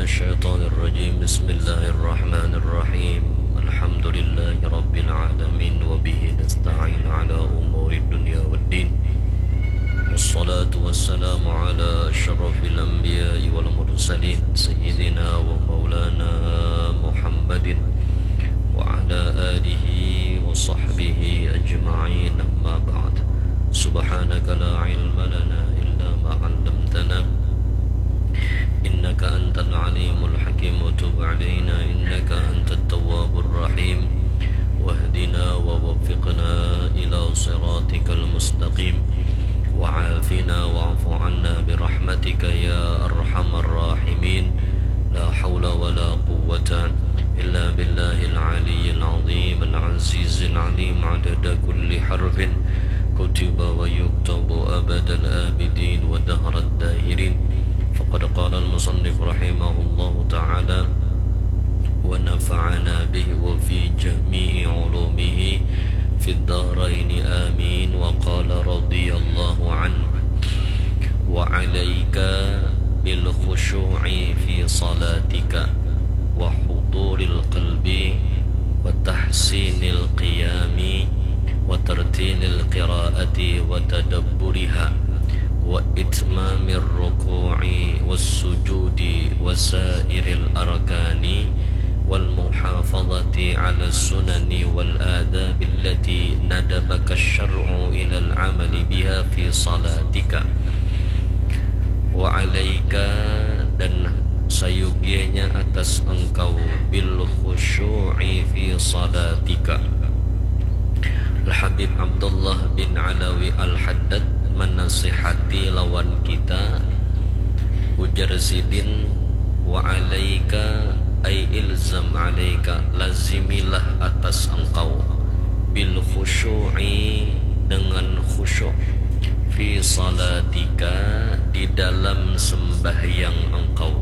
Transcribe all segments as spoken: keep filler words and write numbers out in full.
الشيطان الرجيم. بسم الله الرحمن الرحيم. الحمد لله رب العالمين، وبه نستعين على أمور الدنيا والدين. والصلاة والسلام على أشرف الأنبياء والمرسلين، سيدنا ومولانا محمد وعلى آله وصحبه أجمعين. أما بعد. سبحانك لا علم لنا إلا ما علمتنا، إنك أنت العليم الحكيم. وتب علينا إنك أنت التواب الرحيم. واهدنا ووفقنا إلى صراطك المستقيم. وعافنا واعف عنا برحمتك يا أرحم الراحمين. لا حول ولا قوة إلا بالله العلي العظيم العزيز العليم. عدد كل حرف كتب ويكتب أبد الآبدين ودهر الداهرين. فقد قال المصنف رحمه الله تعالى: ونفعنا به وفي جميع علومه في الدارين، آمين. وقال رضي الله عنه: وعليك بالخشوع في صلاتك، وحضور القلب، وتحسين القيام، وترتيل القراءة وتدبرها، وإتمام الركوع والسجود وسائر الأركان، والمحافظة على السنن والآداب التي ندبك الشرع إلى العمل بها في صلاتك. وعليك, dan sayugianya atas engkau, بالخشوع في صلاتك. Al-Habib Abdullah bin Alawi Al-Haddad manasihati lawan kita, ujar sidin, wa alaika, ay ilzam alaika, lazimilah atas engkau, bil khusyu'i, dengan khusyuk, fi salatika, di dalam sembahyang engkau,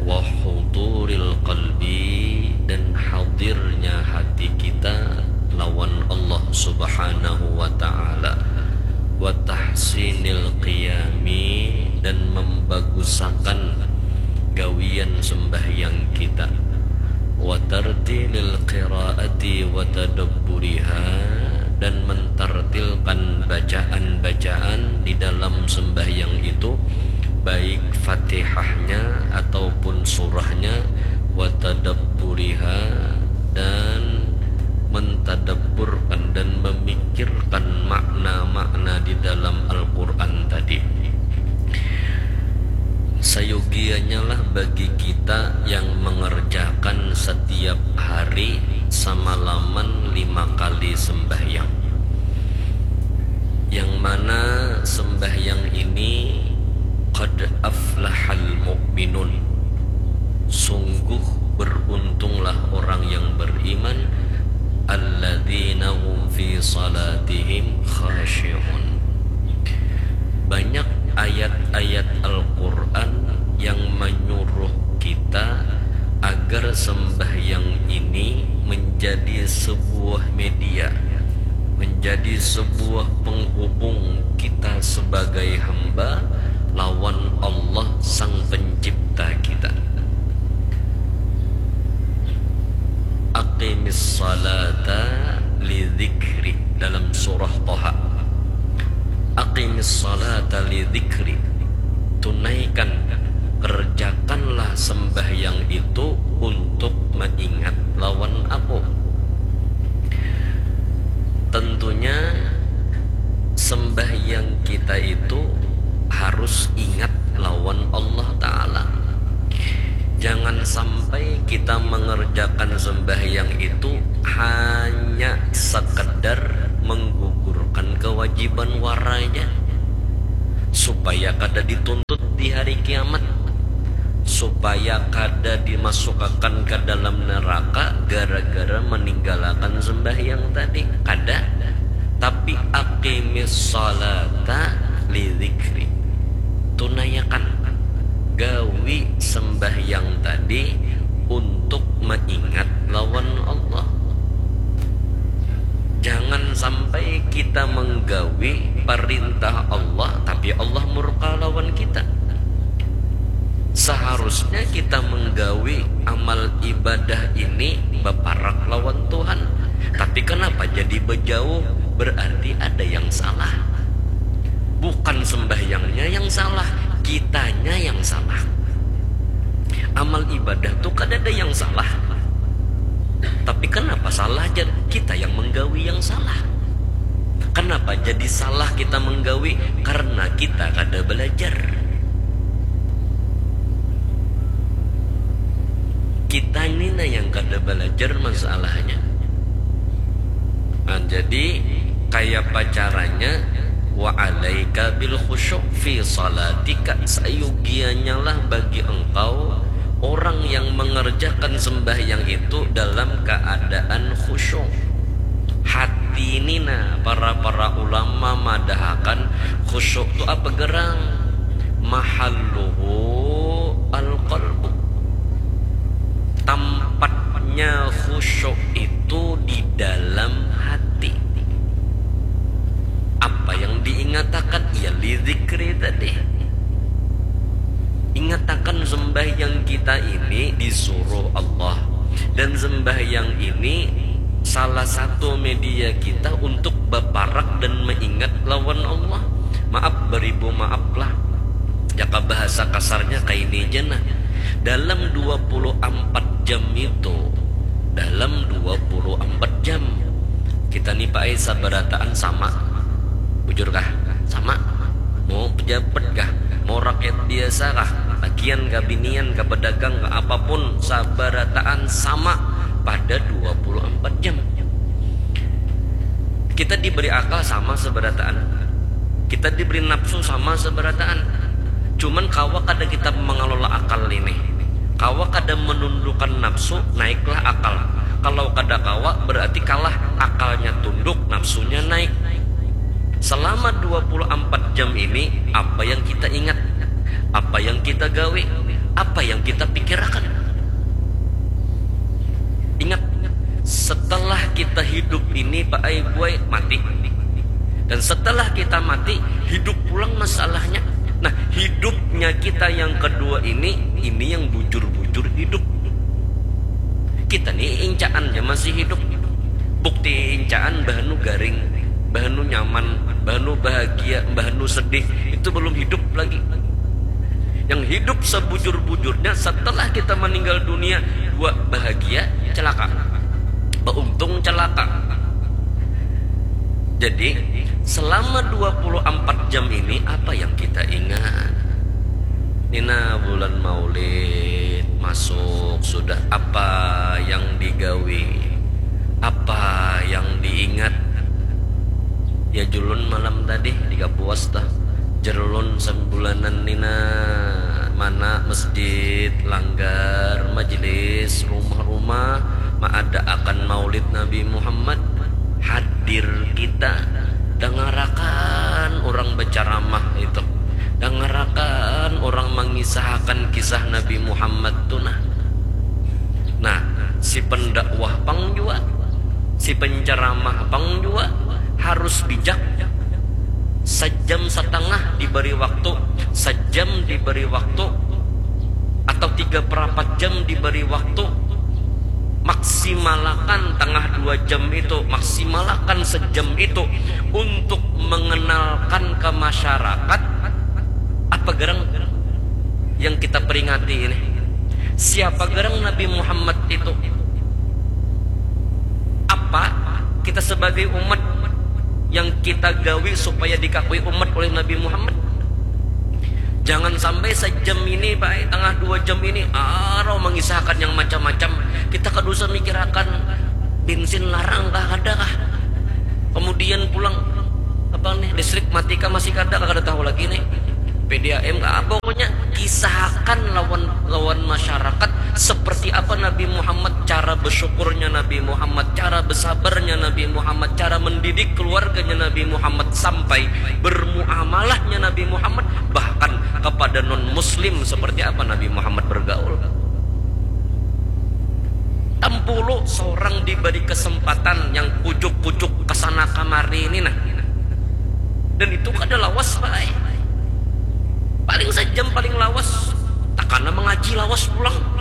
wa huduril qalbi, dan hadirnya hati kita lawan Allah Subhanahu wa Ta'ala, wa tahsinil qiyami, dan membagusakan gawian sembahyang kita, wa tartilil qiraati wa tadabburiha, dan mentartilkan bacaan-bacaan di dalam sembahyang itu, baik Fatihahnya ataupun surahnya, wa tadabburiha, dan mentadabburkan dan memikirkan makna-makna di dalam Al-Quran tadi. Sayogianya lah bagi kita yang mengerjakan setiap hari samalaman lima kali sembahyang, yang mana sembahyang ini qad aflahal mu'minun, sungguh beruntunglah orang yang beriman, alladzina hum fi salatihim khashi'un. Banyak ayat-ayat Al-Quran yang menyuruh kita agar sembahyang ini menjadi sebuah media, menjadi sebuah penghubung kita sebagai hamba lawan Allah Sang Pencipta kita. Aqimis salata li dzikri, dalam surah Toha. Aqimis salata li dzikri, tunaikan, kerjakanlah sembahyang itu untuk mengingat lawan Aku. Tentunya sembahyang kita itu harus ingat lawan Allah Ta'ala. Jangan sampai kita mengerjakan sembahyang itu hanya sekedar menggugurkan kewajiban waranya, supaya kada dituntut di hari kiamat, supaya kada dimasukakan ke dalam neraka gara-gara meninggalakan sembahyang tadi. Kada. Tapi aqimis salata li dzikri. Tunayakan gawi sembahyang tadi untuk mengingat lawan Allah. Jangan sampai kita menggawi perintah Allah, tapi Allah murka lawan kita. Seharusnya kita menggawi amal ibadah ini baparak lawan Tuhan. Tapi kenapa jadi bejauh? Berarti ada yang salah. Bukan sembahyangnya yang salah, kitanya yang salah. Amal ibadah tuh kada ada yang salah. Tapi kenapa salah? Jar, kita yang menggawi yang salah. Kenapa jadi salah kita menggawi? Karena kita kada belajar. Kita ini nah yang kada belajar masalahnya. Nah, jadi kaya apa caranya? Wa alaika bil khusyuk fi salatika, sayugianya lah bagi engkau orang yang mengerjakan sembahyang itu dalam keadaan khusyuk. Hati ini nah, para para ulama madahakan khusyuk tu apa gerang? Mahalluhu al qalbu. Tempatnya khusyuk itu di dalam hati. Apa yang diingatakan? Ya, li zikri tadi. Ingatakan sembahyang kita ini disuruh Allah. Dan sembahyang ini salah satu media kita untuk baparak dan mengingat lawan Allah. Maaf, beribu maaf lah. Jaka bahasa kasarnya kaini ja nah. Dalam dua puluh ampat jam itu, dalam dua puluh ampat jam, kita ni, Pak ai, sabarataan sama. Bujur kah? Sama. Mau pejabat kah? Mau rakyat biasa kah? Lakian kah, binian kah, pedagang kah, apapun, sabarataan sama pada dua puluh ampat jam. Kita diberi akal sama sabarataan. Kita diberi nafsu sama sabarataan. Cuman kawa kada kita mengelola akal ini. Kawa kada menundukkan nafsu, naiklah akal. Kalau kada kawa, berarti kalah, akalnya tunduk, nafsunya naik. Selama dua puluh ampat jam ini, apa yang kita ingat? Apa yang kita gawe? Apa yang kita pikirakan? Ingat, setelah kita hidup ini, Pak ai, buai, mati. Dan setelah kita mati, hidup pulang masalahnya. Nah, hidupnya kita yang kedua ini, ini yang bujur-bujur hidup. Kita ni incaan ja masih hidup. Bukti incaan bahanu garing, bahanu nyaman, bahanu bahagia, bahanu sedih, itu belum hidup lagi. Yang hidup sebujur-bujurnya setelah kita meninggal dunia, dua, bahagia, celaka. Beuntung, celaka. Jadi, selama dua puluh ampat jam ini, apa yang kita ingat? Nina, bulan Maulid masuk, sudah apa yang digawi? Apa yang diingat? Ya, julun malam tadi di Kapuas tah. Jerlun sabulanan nina, mana masjid, langgar, majelis, rumah-rumah, maadaakan Maulid Nabi Muhammad. Hadir kita, dangarakan urang bacaramah itu, dangarakan urang mangisahakan kisah Nabi Muhammad tu nah. Nah, si pendakwah pang jua, si penceramah pang jua harus bijak. Sajam satangah diberi waktu, sajam diberi waktu, atau tiga perapat jam diberi waktu, maksimalakan tangah dua jam itu, maksimalakan sejam itu untuk mengenalkan ke masyarakat apa gerang yang kita peringati ini. Siapa gerang Nabi Muhammad itu? Apa kita sebagai umat yang kita gawi supaya dikakui umat oleh Nabi Muhammad? Jangan sampai sejam ini, baik tengah dua jam ini, arau mengisahkan yang macam-macam. Kita kada usah mikirakan bensin larang kah, ada kah. Kemudian pulang, apa nih, listrik mati kah, masih kada kah, kada tahu lagi nih. P D A M kah, pokoknya kisahkan lawan lawan masyarakat seperti apa Nabi Muhammad, cara bersyukurnya Nabi Muhammad, cara bersabarnya Nabi Muhammad, cara mendidik keluarganya Nabi Muhammad sampai bermuamalahnya Nabi Muhammad bahkan kepada non muslim seperti apa Nabi Muhammad bergaul. Tampulu seorang diberi kesempatan yang kucuk-kucuk kesana kamari ini nah. Dan itu kada lawas, baik. Paling sejam paling lawas. Takana lawas pulang.